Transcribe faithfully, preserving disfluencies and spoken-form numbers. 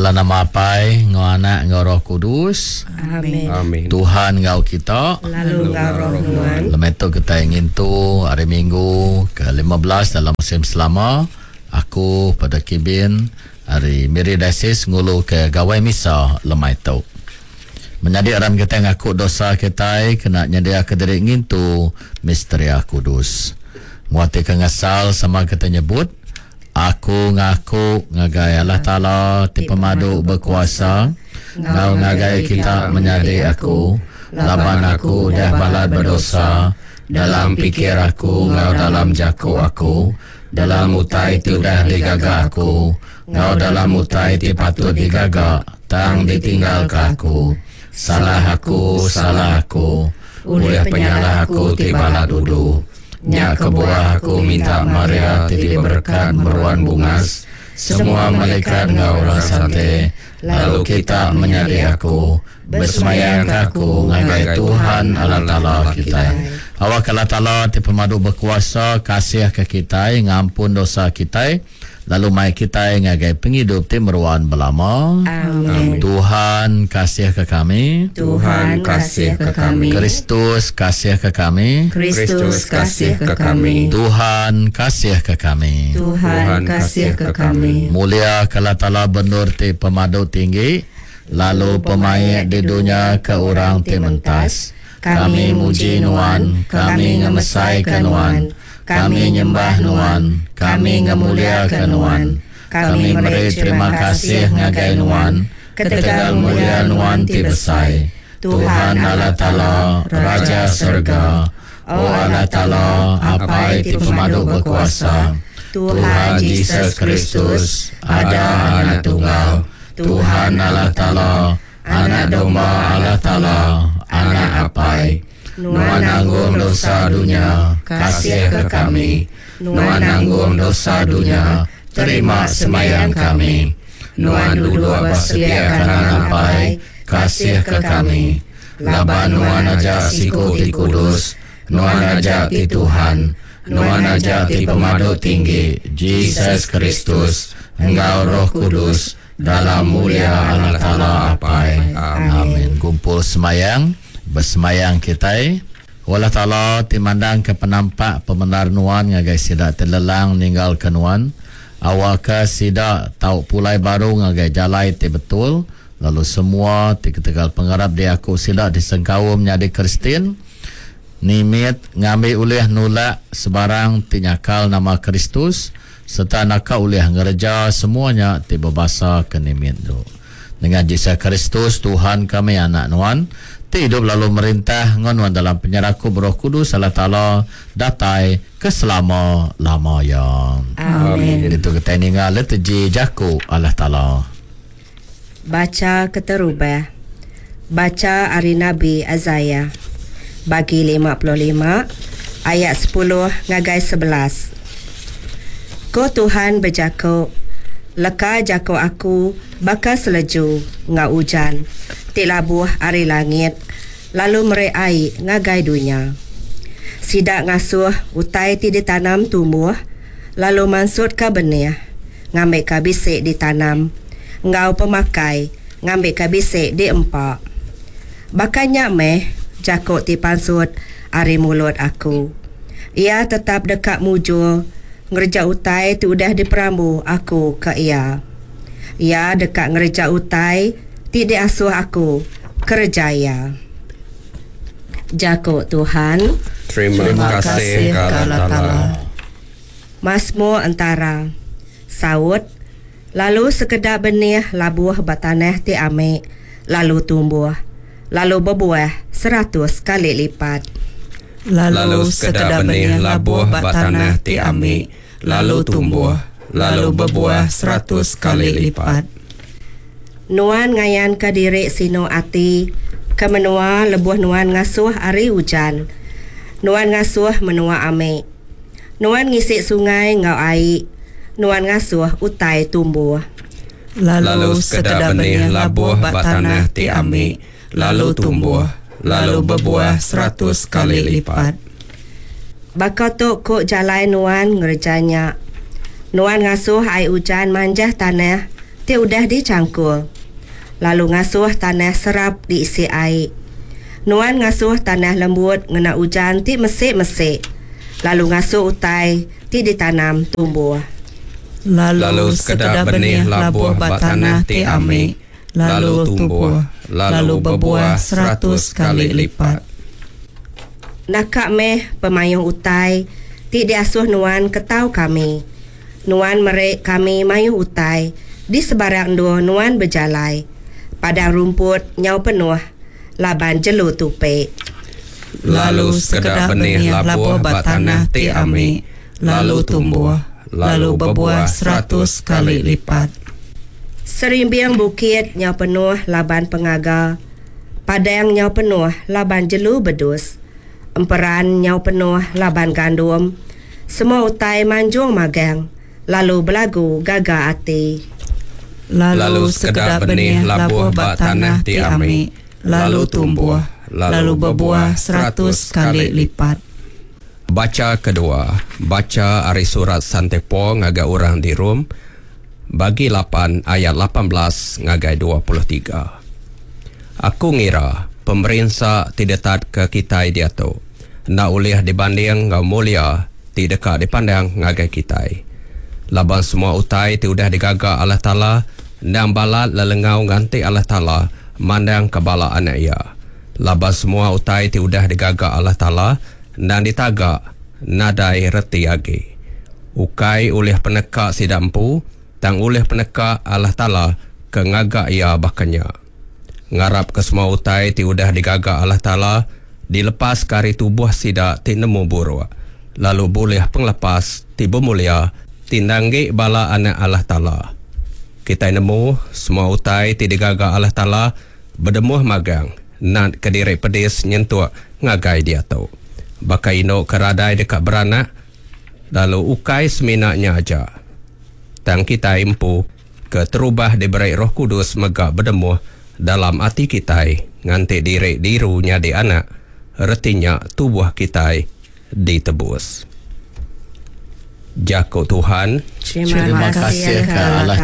Dalam nama Apai, enggau Anak, enggau Roh Kudus. Amin. Amin. Tuhan enggau kita. Lalu enggau roh nuan. Lemai tu kita ngintu hari Minggu ke lima belas dalam musim selama. Aku pada Kibin hari Miri Diocese ngulu ke Gawai Misa lemai tu. Menyadi aram kita ngaku dosa kita kena nyedia ke diri ngintu Misteria Kudus. Nguati ke ngesal sama kita nyebut, aku ngaku ngagai Allah Taala ti pemadu berkuasa, ngau ngagai kita menyadi aku, laban aku udah balat berdosa dalam pikir aku ngau dalam jaku aku, dalam utai ti udah digaga aku, ngau dalam utai ti patut digaga tang ditinggal ke aku. Salah aku, salah aku, oleh penyalah aku ti balat udu. Nya kebuah aku minta Maria ti diberkat meruan bungas, semua malaikat ngau orang sante, lalu kita menyadi aku, bersemayang ke aku ngagai Tuhan Allah Taala kita. Awak Allah Taala ti pemadu berkuasa kasih ke kita, ngampun dosa kita, lalu mai kita ngagai penghidup ti meruan belama. Amin. Tuhan kasih ke kami. Tuhan kasih ke kami. Kristus kasih ke kami. Kristus kasih ke kami. Tuhan kasih ke kami. Tuhan kasih ke kami. Mulia ke Allah Taala bendur ti pemadu tinggi, lalu pemaik di dunia ke orang ti mentas. Kami muji nuan, kami ngemesai ke nuan, kami nyembah nuan, kami ngemulia ke nuan. Kami meri terima kasih ngagai nuan, ketegal mulia nuan ti besai. Tuhan Allah Taala, Raja Surga, O Allah Taala, Apai ti pemadu berkuasa, Tuhan Jesus Kristus, ada anak tunggal, Tuhan Allah Taala, anak domba Allah Taala, anak Apai. Nuan nanggung dosa dunia, kasih ke kami. Nuan nanggung dosa dunia, terima semayang kami. Nuan duduk bersedia kanan Apai, kasih ke kami. Laban nuan aja siku ti kudus, nuan aja ti Tuhan, nuan aja ti pemadu tinggi, Jesus Kristus, enggau Roh Kudus, dalam mulia Allah Taala Apai. Amin. Kumpul semayang, bersemayang kita. Allah Taala ti mandang ke penampak pemendar nuan ngagai sida telelang ninggal ke nuan. Awak sida tau pulai baru ngagai jalai ti betul, lalu semua ti ketegal pengarap dia aku sida disengkaum nyadi Kristian. Nimit ngambil ulih nulak sebarang ti nyakal nama Kristus, serta naka ulih ngereja semuanya ti berbahasa ke nimit tu. Dengan Jesus Kristus Tuhan kami anak nuan, ti hidup lalu merintah ngon dalam penyeraku Roh Kudus Allah Taala datai ke selama-lama ya. Amin. Itu kita ningal liturgi jaku Allah Taala. Baca keterubah. Baca ari Nabi Isaiah bagi lima puluh lima ayat sepuluh ngagai sebelas. Ko Tuhan berjako, leka jako aku baka seleju ngau ujan ti labuh ari langit lalu mere ai ngagai dunya. Sida ngasuh utai ti ditanam tumbuh lalu mansut ka benih ngambil ka bisik ditanam ngau pemakai ngambil ka bisik diempak. Bakanya meh jako ti pansut ari mulut aku. Ia tetap dekat mujur ngerja utai ti udah diperambu aku ke ia. Ia dekat ngerja utai ti diasuh aku kerja ia. Jako Tuhan. Terima, Terima kasih ke Allah Taala. Mazmur antara saut, lalu sekedar benih labuh batanah ti ame, lalu tumbuh, lalu berbuah seratus kali lipat. Lalu, lalu sekedar benih labuh batanah ti ame, lalu tumbuh, lalu berbuah seratus kali lipat. Nuan ngayan ke diri sino ati, ke menua lebuh nuan ngasuh ari hujan. Nuan ngasuh menua ame. Nuan ngisik sungai ngau ai. Nuan ngasuh utai tumbuh. Lalu, lalu sekedar benih labuh batanah ti ame, lalu tumbuh, lalu berbuah seratus kali lipat. Baka tu ku jalai nuan ngerjanya. Nuan ngasuh ai hujan manjah tanah ti udah dichangkul, lalu ngasuh tanah serap diisi ai. Nuan ngasuh tanah lembut ngena ujan ti mesik-mesik, lalu ngasuh utai ti ditanam tumbuh. Lalu sekeda benih labuh ba tanah ti ami, lalu tumbuh, lalu bebuah seratus kali lipat. Naka meh pemayuh utai ti diasuh nuan ketau kami. Nuan meri kami mayuh utai di sebarang endur nuan bejalai. Padang rumput nyau penuh laban jelu tupi. Lalu sekeda benih labuh ba tanah ti ami, lalu tumbuh, lalu bebuah seratus kali lipat. Serimbing bukit nyau penuh laban pengaga, padang nyau penuh laban jelu bedus, emperan nyau penuh laban gandum, semua utai manjung magang, lalu belagu gaga ati. Lalu sekeda benih labuh ba tanah ti ami, lalu tumbuh, lalu bebuah seratus kali lipat. Baca kedua, baca ari surat Sante Paul ngagai orang di Rom, bagi lapan ayat lapan belas ngagai dua puluh tiga. Aku ngira pemerinsa ti detat ke kitai diatu enda ulih dibanding enggau mulia ti deka dipandang ngagai kitai. Laban semua utai ti udah digaga Allah Taala endang balat lelengau nganti Allah Taala mandang ke bala anak iya. Laban semua utai ti udah digaga Allah Taala endang ditaga nadai reti agi. Ukai ulih peneka sida empu, tang ulih peneka Allah Taala ke ngaga ia bakanya. Ngarap ke semua utai ti udah digaga Allah Taala dilepas ke ari tubuh sida ti nemu buruk, lalu boleh penglepas ti bermulia ti nanggi bala anak Allah Taala. Kita nemu semua utai ti digaga Allah Taala berdemuh magang nat ke diri pedis nyentuk ngagai dia tu. Baka ino ke radai dekat beranak, lalu ukai seminaknya aja. Tang kita empu ke terubah diberi Roh Kudus mega berdemuh dalam ati kita nganti diri diru nyadi anak, retinya tubuh kita ditebus. Jako Tuhan. Terima kasih ke Allah